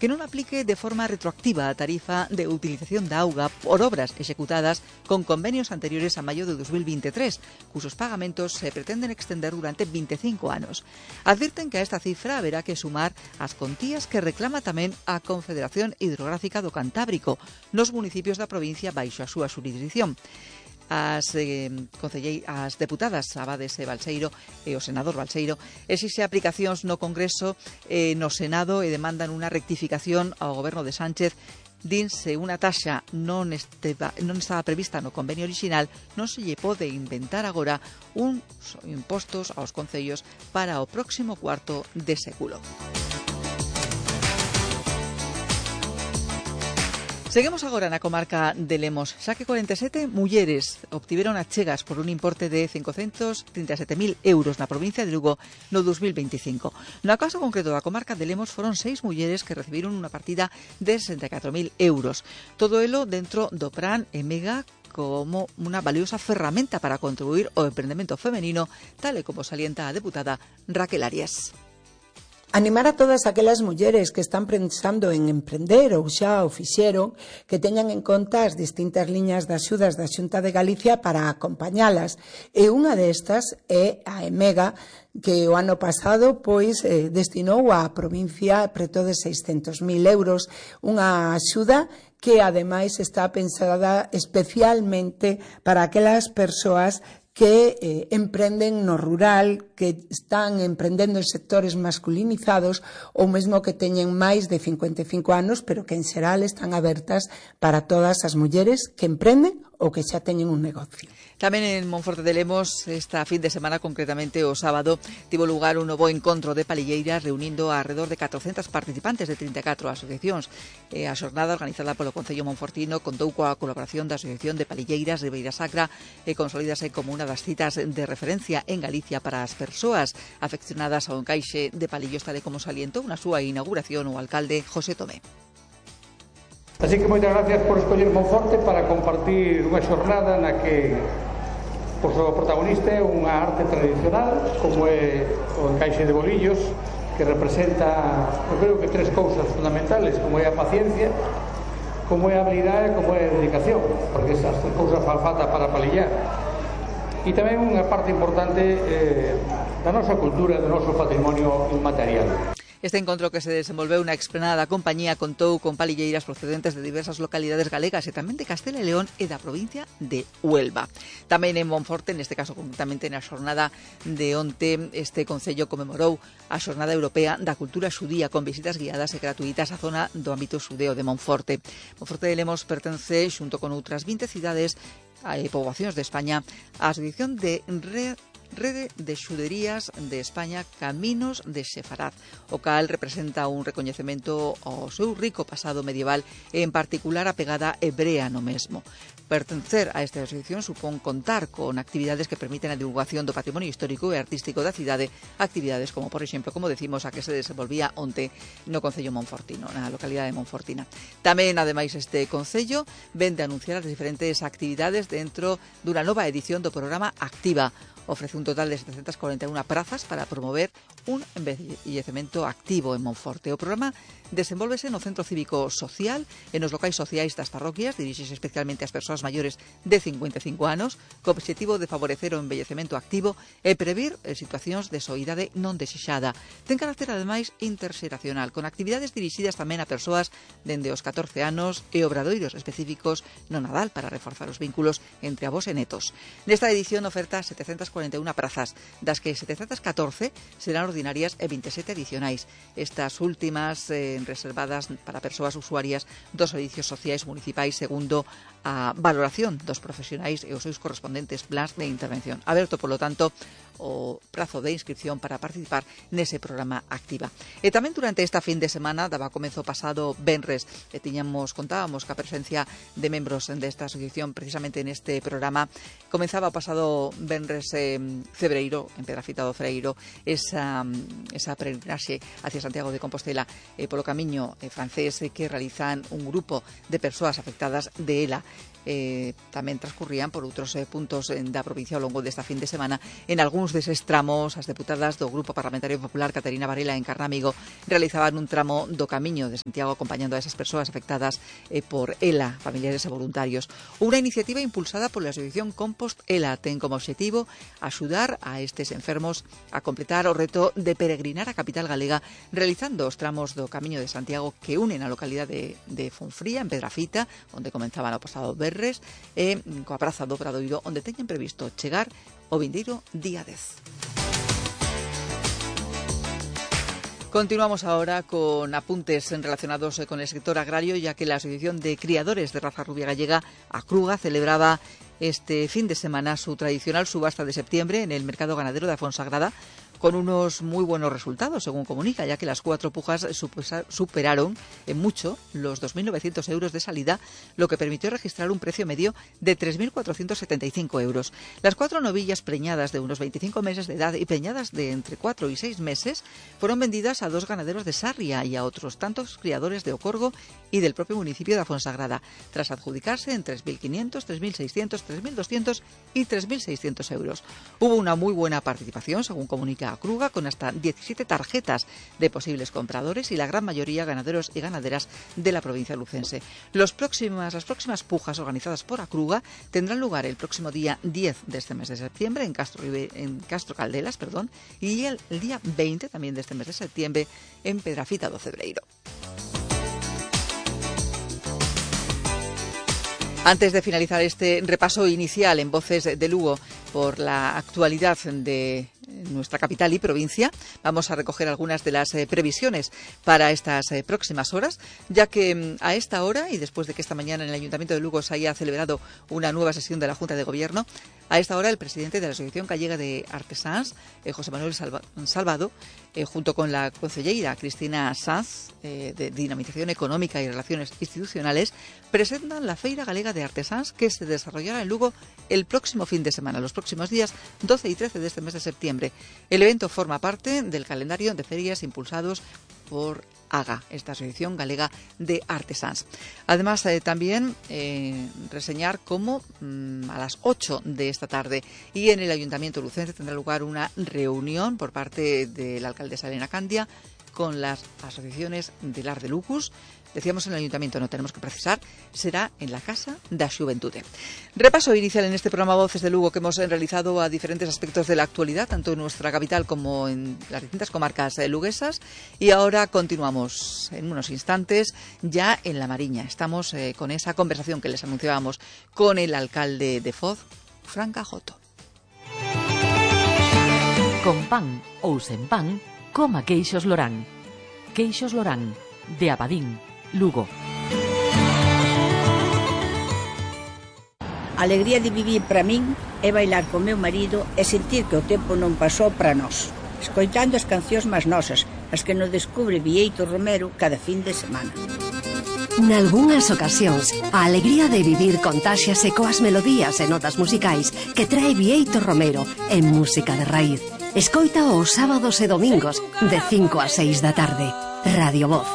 que non aplique de forma retroactiva a tarifa de utilización da auga por obras executadas con convenios anteriores a maio de 2023, cusos pagamentos se pretenden extender durante 25 anos. Advirten que a esta cifra haberá que sumar as contías que reclama tamén a Confederación Hidrográfica do Cantábrico nos municipios da provincia baixo a súa xurisdición. As deputadas Abades e Balseiro e o senador Balseiro exixe aplicacións no Congreso e no Senado e demandan unha rectificación ao goberno de Sánchez. Dinse unha taxa non estaba prevista no convenio orixinal, non se lle pode inventar agora uns impostos aos concellos para o próximo cuarto de século. Seguimos agora na comarca de Lemos, xa que 47 mulleres obtiveron achegas por un importe de 537.000 euros na provincia de Lugo no 2025. No caso concreto da comarca de Lemos foron 6 mulleres que recibiron unha partida de 64.000 euros. Todo elo dentro do Plan EMEGA como unha valiosa ferramenta para contribuir ao emprendemento femenino, tal e como salienta a deputada Raquel Arias. Animar a todas aquelas mulleres que están pensando en emprender ou xa o fixeron, que teñan en conta as distintas liñas de axudas da Xunta de Galicia para acompañalas. E unha destas é a EMEGA, que o ano pasado destinou á provincia preto de 600.000 euros, unha axuda que ademais está pensada especialmente para aquelas persoas que emprenden no rural, que están emprendendo en sectores masculinizados ou mesmo que teñen máis de 55 anos, pero que en xeral están abertas para todas as mulleres que emprenden ou que xa teñen un negocio. Tamén en Monforte de Lemos, esta fin de semana, concretamente o sábado, tivo lugar un novo encontro de palilleiras reunindo alrededor de 400 participantes de 34 asociacións. A xornada organizada polo Concello Monfortino contou coa colaboración da Asociación de Palilleiras de Beira Sacra e consolídase como unha das citas de referencia en Galicia para as persoas afeccionadas ao encaixe de palillos, tal e como salientou na súa inauguración o alcalde José Tomé. Así que moitas gracias por escoller Monforte para compartir unha xornada na que o protagonista é unha arte tradicional como é o encaixe de bolillos, que representa, eu creo que tres cousas fundamentales, como é a paciencia, como é a habilidade e como é a dedicación, porque esas tres cousas fan falta para palillar. E tamén unha parte importante da nosa cultura, do noso patrimonio inmaterial. Este encontro que se desenvolveu na explanada da compañía contou con palilleiras procedentes de diversas localidades galegas e tamén de Castela e León e da provincia de Huelva. Tamén en Monforte, neste caso concretamente na xornada de onte, este concello comemorou a Xornada Europea da Cultura Xudía con visitas guiadas e gratuitas á zona do ámbito xudeo de Monforte. Monforte de Lemos pertence, xunto con outras 20 cidades e poboacións de España, á asociación de Rede de Xuderías de España Caminos de Sefarad, o cal representa un recoñecemento ao seu rico pasado medieval e en particular a pegada hebrea no mesmo. Pertencer a esta asociación supón contar con actividades que permiten a divulgación do patrimonio histórico e artístico da cidade, actividades como, por exemplo, como decimos, a que se desenvolvía onte no Concello Monfortino, na localidade de Monfortina. Tamén, ademais, este Concello vende a anunciar as diferentes actividades dentro dunha nova edición do programa Activa. Ofrece un total de 741 prazas para promover un envellecemento activo en Monforte. O programa desenvólvese no Centro Cívico Social e nos locais sociais das parroquias, dirixese especialmente ás persoas maiores de 55 anos, co obxectivo de favorecer o envellecemento activo e previr situacións de soidade non desexada. Ten carácter, ademais, interxeracional, con actividades dirixidas tamén a persoas dende os 14 anos e obradoiros específicos no Nadal para reforzar os vínculos entre avós e netos. Nesta edición oferta 741 prazas, das que 714 serán ordinarias e 27 adicionais. Estas últimas reservadas para persoas usuarias dos servicios sociais municipais segundo a valoración dos profesionais e os seus correspondentes plans de intervención. Aberto, polo tanto, o prazo de inscripción para participar nese programa Activa. E tamén durante esta fin de semana, daba comezo pasado venres, e contábamos ca presencia de membros desta asociación precisamente neste programa. Comenzaba o pasado venres febreiro, en Pedrafita do Freiro, esa peregrinaxe hacia Santiago de Compostela polo camiño francés que realizan un grupo de persoas afectadas de ELA. tamén transcurrían por outros puntos da provincia ao longo desta fin de semana. En algúns deses tramos, as deputadas do Grupo Parlamentario Popular Caterina Varela en Carnamigo realizaban un tramo do Camiño de Santiago acompañando a esas persoas afectadas por ELA, familiares e voluntarios. Unha iniciativa impulsada pola Asociación Compost ELA ten como obxectivo axudar a estes enfermos a completar o reto de peregrinar a capital galega realizando os tramos do Camiño de Santiago que unen a localidade de Fonfría, en Pedrafita, onde comenzaban o pasado Berres, e coa Praza do Obradoiro, onde teñen previsto chegar o vindeiro día 10. Continuamos ahora con apuntes relacionados con el sector agrario, ya que la Asociación de Criadores de Raza Rubia Gallega, ACRUGA, celebraba este fin de semana su tradicional subasta de septiembre en el mercado ganadero de Afonsagrada, con unos muy buenos resultados, según comunica, ya que las 4 pujas superaron en mucho los 2.900 euros de salida, lo que permitió registrar un precio medio de 3.475 euros. Las 4 novillas preñadas de unos 25 meses de edad y preñadas de entre 4 y 6 meses fueron vendidas a 2 ganaderos de Sarria y a otros tantos criadores de Ocorgo y del propio municipio de Afonsagrada, tras adjudicarse en 3.500, 3.600, 3.200 y 3.600 euros. Hubo una muy buena participación, según comunica ACRUGA, con hasta 17 tarjetas de posibles compradores y la gran mayoría ganaderos y ganaderas de la provincia lucense. Las próximas pujas organizadas por ACRUGA tendrán lugar el próximo día 10 de este mes de septiembre en Castro Caldelas, y el día 20 también de este mes de septiembre en Pedrafita do Cebreiro. Antes de finalizar este repaso inicial en Voces de Lugo por la actualidad de nuestra capital y provincia, vamos a recoger algunas de las previsiones para estas próximas horas, ya que a esta hora, y después de que esta mañana en el Ayuntamiento de Lugo se haya celebrado una nueva sesión de la Junta de Gobierno, a esta hora el presidente de la Asociación Gallega de Artesáns, José Manuel Salvado, junto con la concelleira Cristina Sanz, de Dinamización Económica y Relaciones Institucionales, presentan la Feira Galega de Artesáns que se desarrollará en Lugo el próximo fin de semana, los próximos días 12 y 13 de este mes de septiembre. El evento forma parte del calendario de ferias impulsados por AGA, esta Asociación Galega de Artesáns. Además, también reseñar cómo a las 8 de esta tarde y en el Ayuntamiento lucense tendrá lugar una reunión por parte de la alcaldesa Elena Candia con las asociaciones de Lar de Lucus. Decíamos en el Ayuntamiento, no tenemos que precisar, será en la Casa da Xuventude. Repaso inicial en este programa Voces de Lugo que hemos realizado a diferentes aspectos de la actualidad, tanto en nuestra capital como en las distintas comarcas luguesas. Y ahora continuamos en unos instantes ya en La Mariña. Estamos con esa conversación que les anunciábamos con el alcalde de Foz, Fran Cajoto. Con pan ou sen pan, coma queixos Lorán. Queixos Lorán, de Abadín, Lugo. A alegría de vivir para min é bailar con meu marido e sentir que o tempo non pasou para nós, escoitando as cancións máis nosas, as que nos descubre Bieito Romero cada fin de semana. Nalgúnas ocasións, a alegría de vivir contáxiase coas melodías e notas musicais que trae Bieito Romero en música de raíz. Escoita os sábados e domingos de 5 a 6 da tarde. Radio Voz.